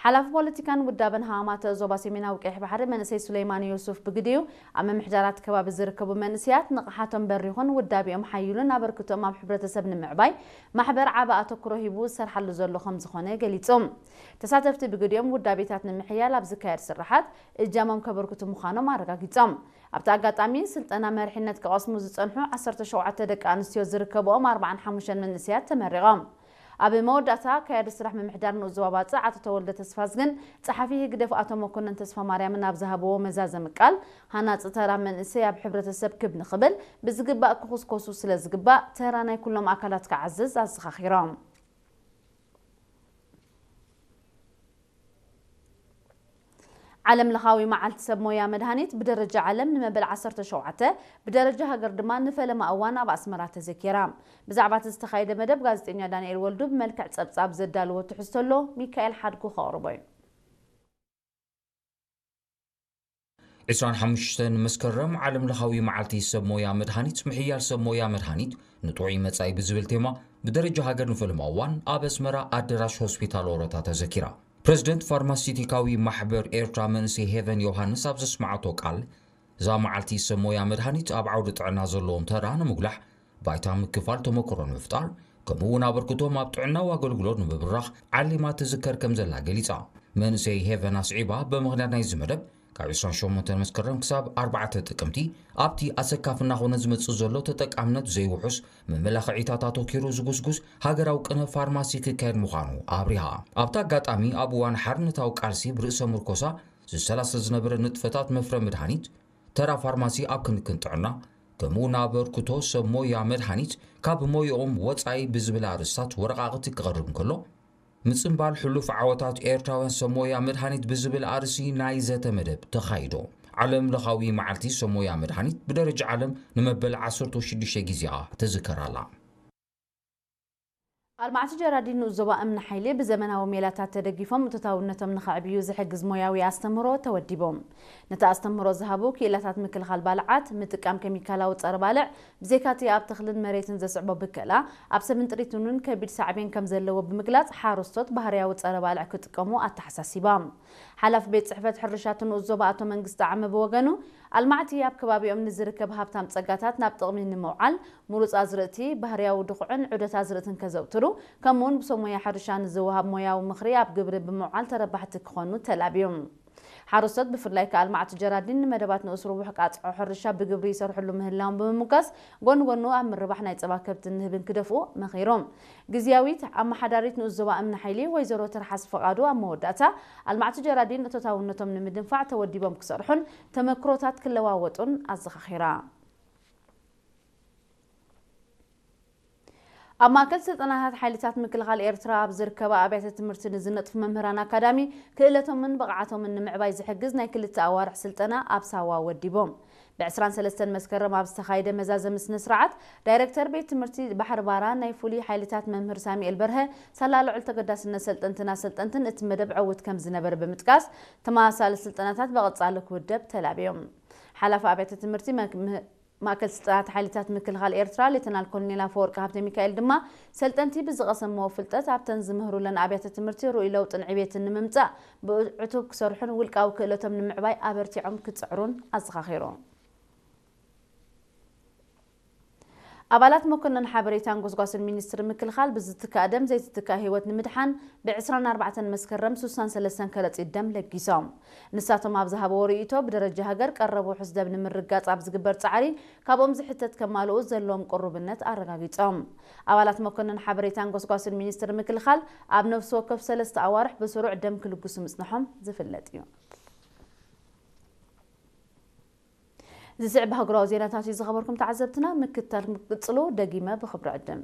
ሓላፊ ፖለቲካን ውዳበን ሃማማተ ዞባ ሰሜናዊ ቀይሕ ባሕሪ መንእሰይ ሱለይማን ዮሱፍ ብግዲኡ፣ ኣብ ምምሕዳራት ከባቢ ዝርከቡ መንእሰያት ንቕሓቶም በሪኹን ውዳቢኦም ሓይሉን ኣበርክቶኦም ኣብ ሕብረተሰብ ንምዕባይ ማሕበር ዓቢ ኣተኩሮ ሂቡ ዝሰርሓሉ ዘሎ ከም ዝኾነ ገሊጹ። ተሳተፍቲ ብግዲኦም ውዳቤታት ንምሕያል ኣብ ዝካየድ ስራሓት እጃሞም ከበርክቱ ምዃኖም ኣረጋጊጾም። ኣብቲ ኣጋጣሚ ስልጠና መሪሕነት ክቐስሙ ዝጸንሑ ዓሰርተ ሸውዓተ ደቂ ኣንስትዮ ዝርከብኦም ኣርባዓን ሓሙሽተን መንእሰያት ተመሪቖም። ኣብ መወዳእታ ኣካያዲ ስራሕ ምምሕዳር ንኡስ ዞባ ባጽዕ ኣቶ ተወልደ ተስፋዝግን ጸሓፊ ህግደፍ ኣቶ መኮነን ተስፋማርያምን ኣብ ዝሃብዎ መዛዘሚ ቃል፣ ሃናጺ ተራ መንእሰይ ኣብ ሕብረተሰብ ክብ ንኽብል ብዝግባእ ክኹስኮሱ ስለ ዝግባእ፣ ተራ ናይ ኩሎም ኣካላት ክዓዝዝ ኣዘኻኺሮም። ዓለም ለኻዊ መዓልቲ ሰብ ሞያ መድሃኒት ብደረጃ ዓለም ንመበል ዓሰርተ ሸውዓተ፣ ብደረጃ ሃገር ድማ ንፈለማ እዋን ኣብ ኣስመራ ተዘኪራ። ብዛዕባ እቲ ዝተኻየደ መደብ ጋዜጠኛ ዳንኤል ወልዱ ብመልክዕ ጸብጻብ ዘዳለዎ ትሕዝቶ ኣሎ፣ ሚካኤል ሓድጉ ከቕርቦ እዩ። ዕስራን ሓሙሽተን መስከረም ዓለም ለኻዊ መዓልቲ ሰብ ሞያ መድሃኒት፣ ምሕያል ሰብ ሞያ መድሃኒት ንጥዑይ መጻኢ ብዝብል ቴማ ብደረጃ ሃገር ንፈለማ እዋን ኣብ ኣስመራ ኣደራሽ ሆስፒታል ኦሮታ ተዘኪራ። ፕረዚደንት ፋርማሲቲካዊ ማሕበር ኤርትራ መንእሰይ ሄቨን ዮሃንስ ኣብ ዘስመዓቶ ቃል፣ እዛ መዓልቲ ሰብ ሞያ መድሃኒት ኣብ ዓውዲ ጥዕና ዘለዎም ተራ ንምጉላሕ፣ ባይታ ምክፋል ተመክሮ ንምፍጣር፣ ከምኡ እውን ኣበርክቶም ኣብ ጥዕናዊ ኣገልግሎት ንምብራኽ ዓሊማ ትዝከር ከም ዘላ ገሊጻ። መንእሰይ ሄቨን ኣስዒባ፣ ብምኽንያት ናይዚ መደብ፣ ካብ ዕስራን ሸሞንተን መስከረም ክሳብ ኣርባዕተ ጥቅምቲ፣ ኣብቲ ኣሰካፊ እናኾነ ዝመጽእ ዘሎ ተጠቃምነት ዘይውሑስ መመላኽዒታት ኣተኪሩ ዝጉስጉስ ሃገራዊ ቅነ ፋርማሲ ክካየድ ምዃኑ ኣብሪሃ። ኣብቲ ኣጋጣሚ፣ ኣብ እዋን ሓርነታዊ ቃልሲ ብርእሰ ምርኮሳ ዝሰላሰል ዝነበረ ንጥፈታት መፍረ መድሃኒት፣ ተራ ፋርማሲ ኣብ ክንክን ጥዕና፣ ከምኡ እውን ኣበርክቶ ሰብ ሞያ መድሃኒት ካብ ሞያኦም ወጻኢ ብዝብል ኣርእስታት ወረቓቕቲ ክቐርብ እንከሎ፣ ምጽንባል ሕሉፍ ዓወታት ኤርትራውያን ሰብ ሞያ መድሃኒት ብዝብል ኣርእሲ ናይ ዘተ መደብ ተኻይዶ። ዓለም ለኻዊ መዓልቲ ሰብ ሞያ መድሃኒት ብደረጃ ዓለም ንመበል ዓሰርተ ሽዱሽተ ግዜኣ ትዝከር ኣላ። ኣልማዕቲ ጀራዲን ንኡስ ዞባ እምኒ ሓይሊ ብዘመናዊ ሜላታት ተደጊፎም እቶታውነቶም ንኸዕብዩ ዝሕግዝ ሞያዊ ኣስተምህሮ ተወዲቦም። ነቲ ኣስተምህሮ ዝሃቡ ክኢላታት ምክልኻል ባልዓት፣ ምጥቃም ኬሚካላዊ ጸረ ባልዕ፣ ብዘይካቲ ኣብ ተኽልን መሬትን ዘስዕቦ ብከላ፣ ኣብ ሰብን ጥሪትን እውን ከቢድ ሳዕቤን ከም ዘለዎ ብምግላጽ፣ ሓረስቶት ባህርያዊ ጸረ ባልዕ ክጥቀሙ ኣተሓሳሲባ። ሓላፊ ቤት ጽሕፈት ሕርሻ እቲ ንኡስ ዞባ ኣቶ መንግስቲ ዓመ ብወገኑ፣ ኣልማዕቲ ኣብ ከባቢኦም ንዝርከብ ሃብታም ጸጋታት ናብ ጥቕሚ ንምውዓል፣ ምሩጽ ኣዝርእቲ፣ ባህርያዊ ድኹዕን ዑደት ኣዝርእትን ከዘውትሩ፣ ከምኡውን ብሰብ ሞያ ሕርሻ ንዝወሃብ ሞያዊ ምኽሪ ኣብ ግብሪ ብምውዓል ተረባሕቲ ክኾኑ ተላብዮም። ሓረስቶት ብፍላይ ከኣ ኣልማዕቲ ጀራዲን ንመደባት ንኡስ ርቡሕ ቃጽዖ ሕርሻ ብግብሪ ይሰርሕሉ ምህላዎም ብምምጋስ፣ ጎኒ ጎኑ ኣብ ምርባሕ ናይ ጸባ ከብትን ንህብን ክደፍኡ መኺሮም። ግዝያዊት ኣመሓዳሪት ንኡስ ዞባ እምኒ ሓይሊ ወይዘሮ ትርሓስ ፍቓዱ ኣብ መወዳእታ፣ ኣልማዕቲ ጀራዲን እቶታውነቶም ንምድንፋዕ ተወዲቦም ክሰርሑን ተመክሮታት ክለዋወጡን ኣዘኻኺራ። ኣብ ማእከል ስልጠናታት ሓይልታት ምክልኻል ኤርትራ ኣብ ዝርከባ ኣብያተ ትምህርቲ ንዝነጥፉ መምህራን ኣካዳሚ ክእለቶምን ብቕዓቶምን ንምዕባይ ዝሕግዝ ናይ ክልተ ኣዋርሕ ስልጠና ኣብ ሳዋ ወዲቦም። ብ ዕስራን ሰለስተን መስከረም ኣብ ዝተኻየደ መዛዘሚ ስነ ስርዓት፣ ዳይረክተር ቤት ትምህርቲ ባሕሪ ባራ ናይ ፍሉይ ሓይልታት መምህር ሳሙኤል በርሀ፣ ሳላ ልዑል ተገዳስነት ሰልጠንትን ኣሰልጠንትን እቲ መደብ ዕዉት ከም ዝነበረ ብምጥቃስ፣ ተመሳሳሊ ስልጠናታት ብቐጻሊ ክውደብ ተላብዮም። ሓላፊ ኣብያተ ትምህርቲ መክ-፣ ም-፣ ማእከል ስልጠናት ሓይልታት ምክልኻል ኤርትራ ሌተናል ኮሎኔል ኣፈወርቂ ሃብተሚካኤል ድማ፣ ሰልጠንቲ ብዝቐሰምዎ ፍልጠት ኣብተን ዝምህሩለን ኣብያተ ትምህርቲ ርኡይ ለውጥን ዕቤትን ንምምጻእ ብዕቱብ ክሰርሑን ውልቃዊ ክእለቶም ንምዕባይ ኣበርቲዖም ክጽዕሩን ኣዘኻኺሩ። ኣባላት መኮነን ሓበሬታን ጎስጓስን ሚኒስትሪ ምክልኻል ብዝትካእ ደም ዘይትትካእ ህይወት ንምድሓን ብ ዕስራን ኣርባዕተን መስከረም ሱሳን ሰለስተን ከረጺት ደም ለጊሶም። ንሳቶም ኣብ ዝሃብዎ ርእይቶ፣ ብደረጃ ሃገር ቀረብ ውሑስ ደም ንምርጋጽ ኣብ ዝግበር ጻዕሪ ካብኦም ዝሕተት ከማልኡ ዘለዎም ቅሩብነት ኣረጋጊጾም። ኣባላት መኮነን ሓበሬታን ጎስጓስን ሚኒስትሪ ምክልኻል ኣብ ነፍሲ ወከፍ ሰለስተ ኣዋርሕ ብስሩዕ ደም ክልግሱ ምጽንሖም ዝፍለጥ እዩ። ዝስዕብ ሃገራዊ ዜናታት እዩ ዝኸበርኩም ተዓዘብትና፣ ምክትታል ክትቅጽሉ ደጊመ ብኽብሪ ዕድም።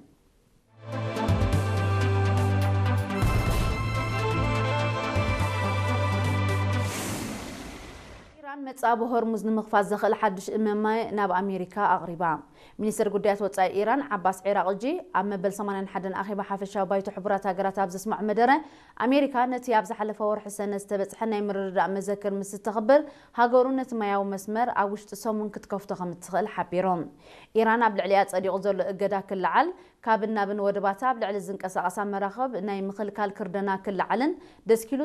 ኢራን መጻኢ ብሆርሙዝ ንምኽፋት ዘኽእል ሓድሽ እመመ ናብ ኣሜሪካ ኣቕሪባ። ሚኒስትር ጉዳያት ወጻኢ ኢራን ዓባስ ዒራቕጂ ኣብ መበል ሰማንያን ሓደን ኣኼባ ሓፈሻዊ ባይቶ ሕቡራት ሃገራት ኣብ ዘስምዖ መደረ፣ ኣሜሪካ ነቲ ኣብ ዝሓለፈ ወርሒ ሰነ ዝተበጽሐ ናይ ምርድዳእ መዘክር ምስ እተኽብር፣ ሃገሩ ነቲ ማያዊ መስመር ኣብ ውሽጢ ሰሙን ክትከፍቶ ከም እትኽእል ሓቢሩ። ኢራን ኣብ ልዕሊኣ ጸዲቑ ዘሎ እገዳ ክለዓል፣ ካብን ናብን ወደባታ ኣብ ልዕሊ ዝንቀሳቐሳ መራኽብ ናይ ምኽልካል ክርደና ክለዓልን ደስኪሉ